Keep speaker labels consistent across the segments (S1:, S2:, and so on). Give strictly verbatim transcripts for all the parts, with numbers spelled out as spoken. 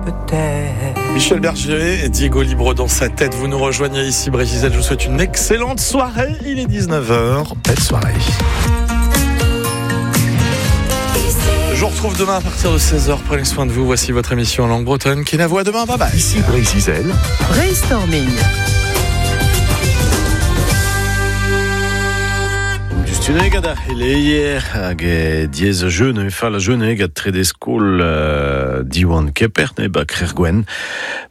S1: Peut-être.
S2: Michel Berger et Diego Libre dans sa tête. Vous nous rejoignez ici, Breizh Izel. Je vous souhaite une excellente soirée. Il est dix-neuf heures. Belle soirée. Je vous retrouve demain à partir de seize heures. Prenez soin de vous. Voici votre émission en langue bretonne. Qui la voit demain. Bye bye.
S3: Ici Breizh Izel.
S4: Brainstorming.
S5: Tuneg ad ar c'heleier hag diez a jeune, e fall a jeune hag trede skol uh, Diwan Keper, ne ba Krergwen.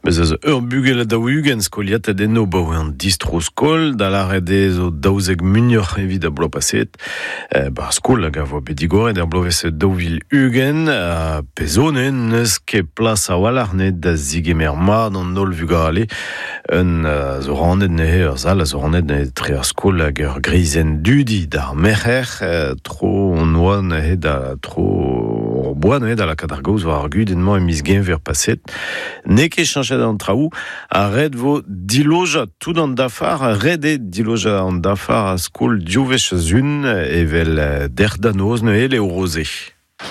S5: Bez eus ur bugel a daou-ugent skoliat ad eno ba oe an distro skol, da lâret eo zo daouzek muioc'h evit a bloaz paset. Eh, ba skol hag a voa bet digoret er bloavezh daou vil ugent, a pezone n'eus ket plas a-walc'h ne da zigemer mat an holl vugale. Un uh, zo rannet neuze ur sal a zo rannet neuze tre ar skol hag ur grizenn dudi d'ar merc'her, tro on oa neuze da tro ur boa neuze da lakaat ar gaoz war ar gudenn-mañ e miz Genver paset. N'eo ket cheñchet an traoù, ha ret vo dilojañ tout an dafar, ret eo dilojañ an dafar a skol div wech a-zun evel derc'h da noz neuze leo roze.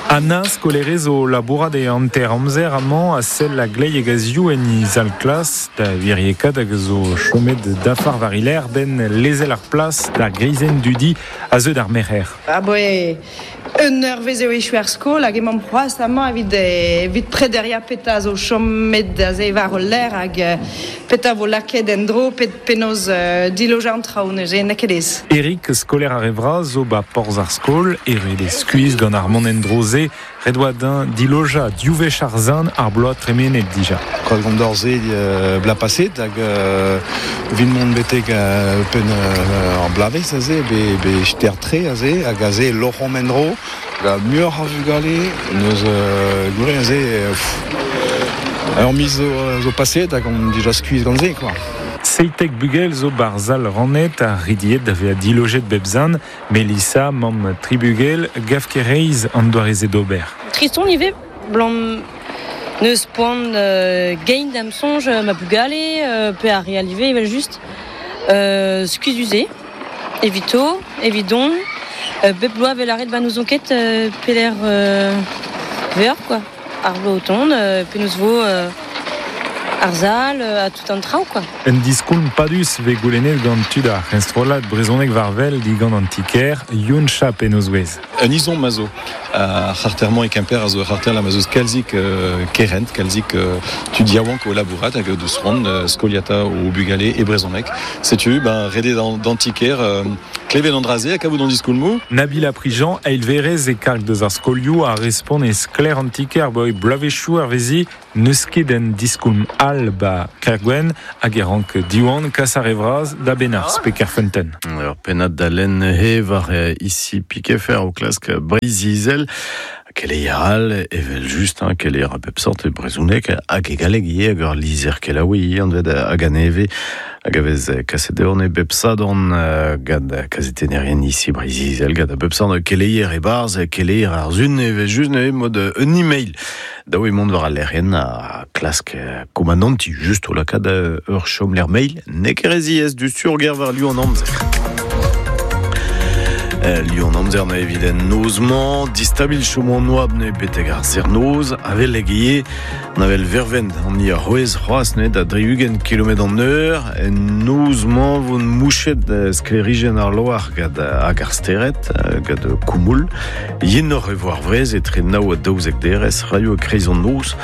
S6: Anna skolerez o labourat e hanter amzer amañ a sell a glei hag a ziv en he zal klas da wiriekat hag zo chomet dafar war hiler ben lezel ar plas d'ar grizenn dudi a zeu d'ar merc'her.
S7: Ah boe, un eurvezh eo echu ar skol hag emañ c'hoazh amañ evit, evit prederia peta zo chomet da ze war ul lec'h hag peta vo lakaet en-dro pet penaos uh, dilojañ an traoù neuze n'eo ket aes.
S6: Eric, skoler ar re vras zo ba porzh ar skol, eret e skuizh gant ar mont en-dro ze, ret oa din dilojañ div wech ar zan ar bloaz tremenet dija.
S8: Kroaz gant d'ar ze euh, bla paset hag euh, vin mont betek euh, pen euh, ar blavezh aze, be, be ster tre aze, hag aze loc'homp en-dro, la muioc'h a vugale, neus euh, gure aze, euh, pff, ur miz zo, zo paset hag on dija skuizh gant se, quoi.
S6: Seitek bugel zo bar zal rannet a ridiet da vezañ dilojet bep zan, Melissa, mamm tri bugel, gav ket reizh an doare se d'ober.
S9: Triston ivez, blam neus poan euh, gein da'm soñj ma bugale, euh, pe ar re all ivez evel just, euh, skuizhus evito, evidon, euh, bep bloaz vel aret ba n'ouzon ket euh, peler euh, veur, quoi. Ar bloaz o tont, euh, penaos vo euh, ar zal, a tout an traoù, quoi.
S6: Un diskoulm padus ve goulennet gant tud ar c'henstrollad brezhoneg war wel digant an tiker, Youn Chap en o zouez.
S10: Un izon mazo ar c'harter-mañ e Kemper a zo ar c'harter la mazoz kalzik euh, kerent, kalzik euh, tud yaouank o labourat hag deus c'hoant euh, skoliata o bugale e brezhoneg. Setu, ben, redet d'an, d'an tiker, euh, klevet an draze hag a vout an diskoulmoù.
S6: Nabila Prigent, eilverez e karg deus ar skolioù a respont e sklaer an tiker boi bloavezhioù ar vezi n'eus ket en diskoulm all ba Kergwenn hag e rank Diwan kas ar re vras da Benarz pe Kerfeunteun.
S5: Ur pennad da lenn he war ici Pikefer o klask Breizh Izel. Keleier all, evel just, hein, keleier a bep sort e brezhoneg hag e galleg ivez hag ur lizher kelaouiñ ivez anvet hag aneve hag a vez kaset deomp e bep sadorn gant kazetennerien ici Breizh Izel gant a bep sort keleier e-barzh keleier ar zun evel just neuze mod un email daou eo mont war al lec'hienn a klask komananti just o lakaat ur chomlec'h mail n'eo ket re ziaes du surger war liv an amzer. Lion amzer na evit en noz-mañ, distabil chom an oabl ne betek ar serr-noz, avel hag ivez, an avel vervent an i ar c'hwez c'hoazh ne da dri-ugent kilometr an eur, en noz-mañ vo mouchet sklêrijenn ar loar gant hag ar stered, gant koumoul, yenoc'h e vo ar wrez etre nav ha daouzek derez, raio e-kreiz an noz,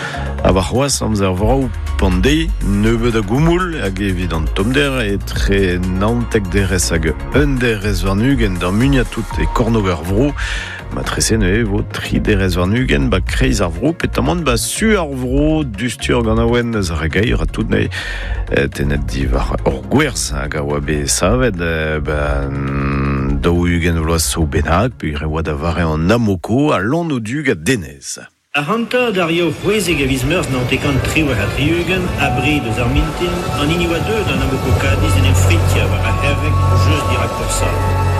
S5: ha war c'hoazh amzer vrav pandei, nebeut a goumoul hag evit an tommder etre naontek derez hag un derez warn-ugent d'ar muiañ tout e kornôg ar vro. Matrese neuze vo tri derez warn-ugent ba kreiz ar vro, petamant ba su ar vro, dustur gant awen eus ar gaer a tout neuze tenet diwar ur gwerz hag a oa bet savet ba daou-ugent vloaz zo bennak, peogwir e oa da vare an Amoko a Lann o du gant Denez.
S11: Ar hanter d'ar yaou c'hwezek a viz Meurzh naontek triwec'h ha tri-ugent, abred eus ar mintin, an hini oa deuet an Amoco Cadiz en em fritia war ar C'herveg just dirak Porsal.